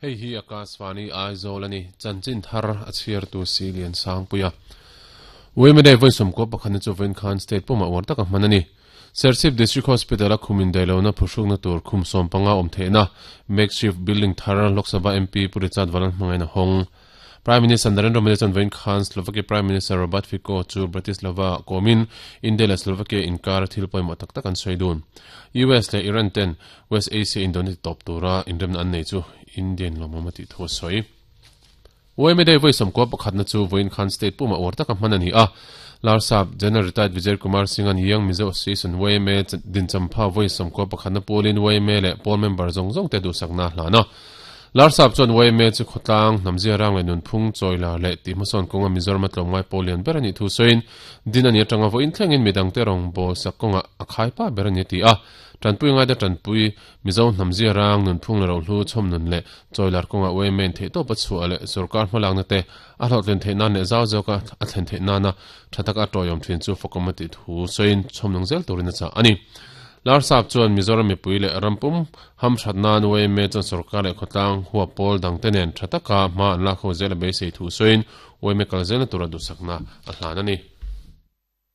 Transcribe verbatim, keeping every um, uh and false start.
Hei hi Akashvani Aizawl ani chanchin thar a chhiar tu si lian sangpuia Wemede voisom ko pakhan chu ven khan state puma war taka manani Serchhip District Hospital a khumin dailona phusuk na tur khum som panga om theina makeshift building thar Lok Sabha M P Purichat Valan hmangaina hong Prime Minister Narendra Modi chan ven khan Slovakia Prime Minister Robert Fico chu Bratislava komin India la Slovakia inkar thil poimo tak tak an soidun U S le Iran ten West Asia Indonesia top tura indem an nei chu Indian lomamati thu soi Wemede voisom ko pakhat na chu voin khan state puma war taka manani a Larsap General Retired Vijay Kumar Singh an Young Mizo Association Weme din champha voisom ko pakhat na polin Weme le pol member zong zong te du sakna hlana Larsap chon Weme chu khotlang namzia rang le nun phung choila le ti mason konga Mizoram tlongai polian berani thu soin din ani atanga voin thlengin midang te rong bo sakonga akhai pa berani ti a tanpui ngai da tanpui Mizo namzia rang nun phung le ro hlu chom nun le choilar konga Weme the to pachu ale sarkar hmalang na te a hlotlen the na ne zaw zaw ka a thlen the na na thataka toyom thin chu fokomati thu soin chom nong zel turina cha ani Larsap chuan Mizoram mipui le rampum ham thatna Weme chan sarkar le khotlang huwa pol dang tenen thataka ma an la kho zel be sei thu soin Weme kal zel na tura du sakna a hlan ani.